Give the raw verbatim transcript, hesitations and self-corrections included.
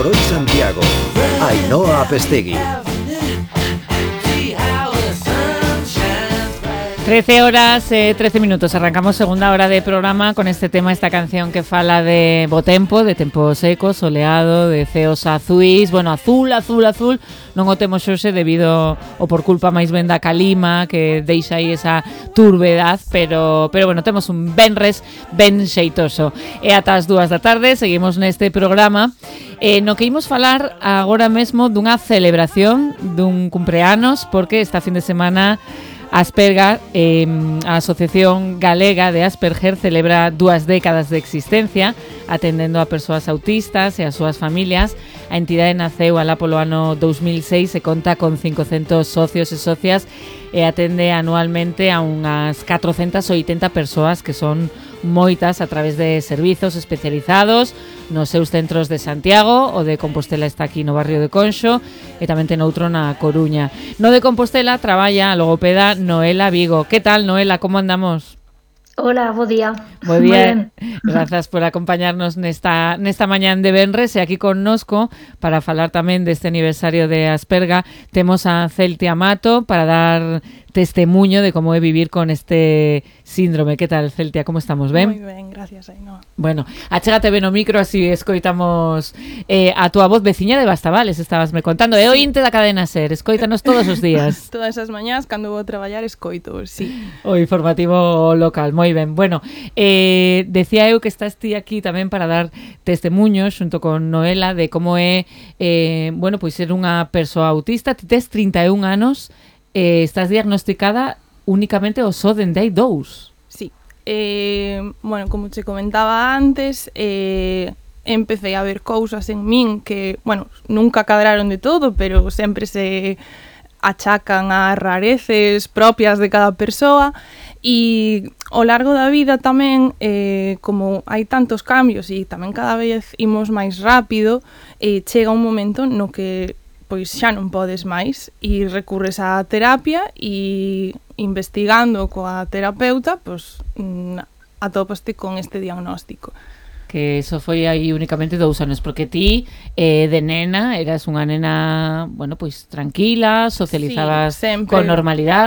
Por hoy Santiago, Ainhoa Apestegui. trece horas, eh, trece minutos. Arrancamos segunda hora de programa con este tema, esta canción que fala de bo tempo, de tempo seco, soleado, de ceos azuis, bueno, azul, azul, azul. Non o temos hoxe debido ou por culpa máis ben da calima que deixa aí esa turbedad, pero pero bueno, temos un venres ben xeitoso. E ata as dúas da tarde seguimos neste programa eh, no que imos falar agora mesmo dunha celebración dun cumpleanos, porque esta fin de semana Asperga, eh, a Asociación Galega de Asperger, celebra dúas décadas de existencia atendendo a persoas autistas e as súas familias. A entidade naceu alá polo ano dous mil seis e conta con cincocentos socios e socias e atende anualmente a unhas catrocentas oitenta persoas, que son moitas, a través de servizos especializados nos seus centros de Santiago. O de Compostela está aquí no barrio de Conxo e tamén ten outro na Coruña. No de Compostela traballa a logopeda Noela Vigo. Que tal, Noela, como andamos? Hola, bo día. Bo día, grazas por acompañarnos nesta, nesta mañán de venres. E aquí connosco, para falar tamén deste aniversario de Asperga, temos a Celtia Mato para dar testemuño de como é vivir con este síndrome. Que tal, Celtia, como estamos, ben? Moi ben, gracias, Ainhoa. Bueno, achégate ben o micro, así escoitamos eh, a túa voz. Veciña de Bastavales, estabas me contando. É ointe da cadena SER, escoítanos todos os días. Todas as mañás, cando vou a traballar, escoito, sí. O informativo local, moi ben. Bueno, eh, decía eu que estás ti aquí tamén para dar testemuños xunto con Noela de como é eh, bueno, pois ser unha persoa autista. Ti tes trinta e un anos, eh, estás diagnosticada únicamente o só dende hai dous. Sí. Eh, bueno, como te comentaba antes, eh, empecé a ver cousas en min que, bueno, nunca cadraron de todo, pero sempre se achacan a rareces propias de cada persoa. E ao largo da vida tamén, eh, como hai tantos cambios e tamén cada vez imos máis rápido, eh, chega un momento no que pois xa non podes máis e recurres á terapia e investigando coa terapeuta, pois atopaste con este diagnóstico. Que eso foi aí únicamente dous anos, porque ti eh, de nena eras unha nena, bueno, pois tranquila, socializabas sí, con normalidade.